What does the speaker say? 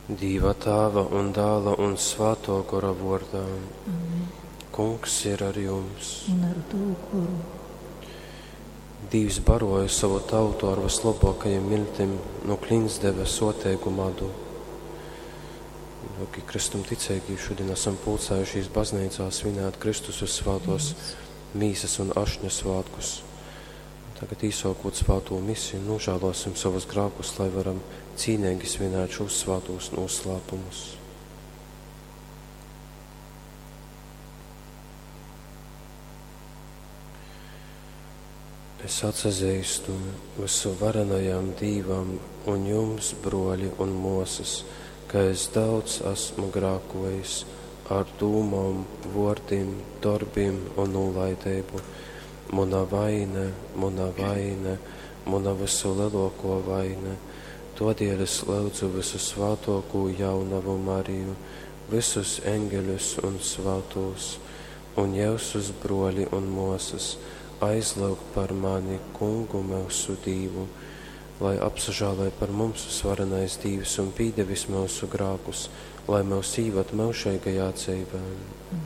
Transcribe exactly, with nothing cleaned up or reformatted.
Dīva Tāva un Dāla un Svātō Gora vōrdā. Amen. Kungs ir ar jums. Un ar tavu goru. Dīvs baroja savu tautu ar vislabākajiem miltim, no klints deva soteigu madu. Dārgie Kristum ticīgi, šodien esam pulcējušies baznīcā svinēt Kristus uz svētos mīsas un ašņa svētkus. Tagad īsākot svēto misiju, nožēlosim savus grēkus, lai varam cīnīgi svinēt šos svētos noslēpumus. Es atsazīstu visu varenajam Dīvam un jums, broļi un mosas, ka es daudz esmu grākojis ar dūmām, vārdiem, darbiem un nolaidību. Muna vaine, muna vaine, muna visu lielāko vaine. Todēļ es lūdzu visu svātoko jaunavu Mariju, visus eņģeļus un svātos, un jūsus broļi un mosas, aizlūg par mani kungu mūsu Dīvu, lai apsažālē par mums svarenais Dīvs un pīdevis mūsu grākus, lai mūs īvad mūžīgajā dzīvē. Amen.